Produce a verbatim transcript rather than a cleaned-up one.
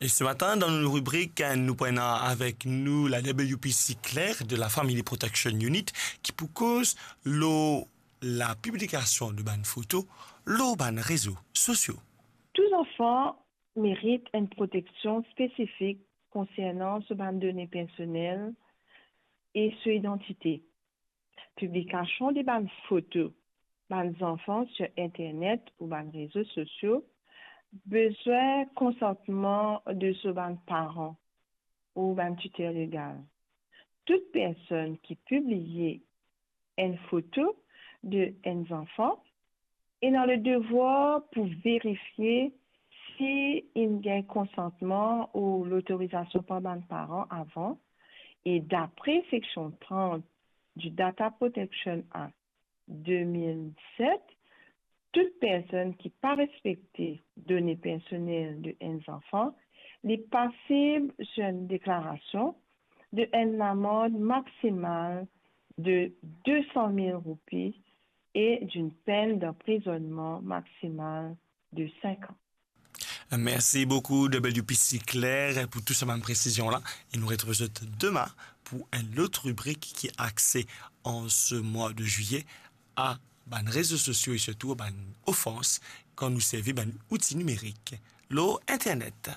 E se matin, dan nou ribrik, nou pou ena avek nou la W P C Claire de la Family Protection Unit, ki pou koz lor la piblikasion de bann foto lor bann rezo sosio. Tou zanfan merit enn proteksion spesifik konsernan so bann done personel e so idantite. Piblikasion de bann foto bann zanfan sir internet ou bann rezo sosio bizin konsantman de so bann paran ou bann titer legal. Tou personn ki pibliye enn foto de enn zanfan ena le devwar pou verifie si inn gagn konsantman ou lotorizasion par bann paran avan, e dapre seksion trant du Data Protection Act de mil set, tou personn ki pa respekte done personel de enn zanfan, li pasib sir enn deklarasion de enn lamand maksimal de de san mil roupi e d'enn penn danprizonnman maksimal de sink an. Mersi boukou, W P C Claire, pou tou sa bann presizion la. E nou retrouv zot dema pou enn lot ribrik ki axe an se mwa de zilye a bann rezo sosio e sirtou a bann ofans kan nou servi bann outi nimerik lor internet.